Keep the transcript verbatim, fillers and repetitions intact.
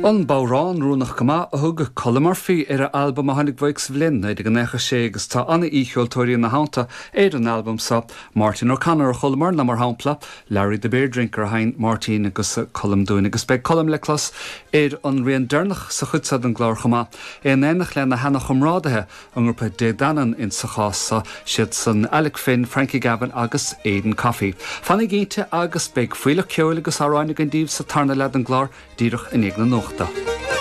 An bodhrán oiriúnach go maith a thug Colm Murphy ar a albam a tháinig uaidh sa bhliain naoi déag nócha sé agus tá an-aoicheoltóirí ina theannta ar an albam seo Martin O'Connor a chualamar ná mar shampla Larry the Beer Drinker a sheinn Martin agus Colm dúinn agus beidh Colm le clos ar an rian deireanach sa chuid seo den gclár chomh maith in éineacht lena sheanchomrádaithe an grúpa Dé Danann in sa chás seo siad san Alec Finn, Frankie Gavin agus Aidan Coffey. Fanaigí cinnte agus beidh fuíoll ceoil agus amhráin againn daoibh sa tarna leath den gclár díreach i ndiaidh na nuachta.